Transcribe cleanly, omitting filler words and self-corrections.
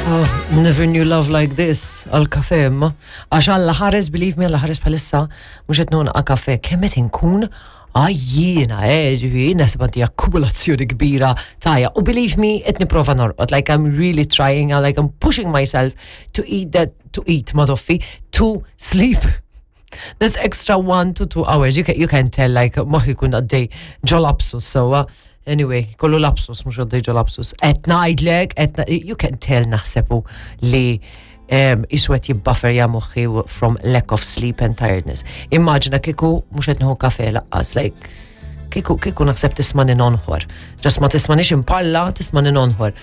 Oh, never knew love like this, għal kafe imma. Għax Alla ħares, believe me, Alla ħares bħalissa, mux qed nonqa kafe, kemm qed inkun għajjina, ġifieri, naħseb għandi akkumulazzjoni kbira taja. U believe me, qed nipprova norqod, like I'm really trying, like I'm pushing myself to eat that, to eat, madoffi, to sleep. That extra 1 to 2 hours, you can tell, like, moħħi kun għaddej ġo lapsus, so, anyway, kollu lapsus, mux għaddej ġo lapsus. Qed ngħidlek, you can tell naħsebu li iswed jibbuffer ja moħħi from lack of sleep and tiredness. Immaġina kieku mux qed nieħu kafe lanqas, like, kieku naħseb tismagħni nonħor. Just ma tismagħnix imparla, tismagħni nonħor.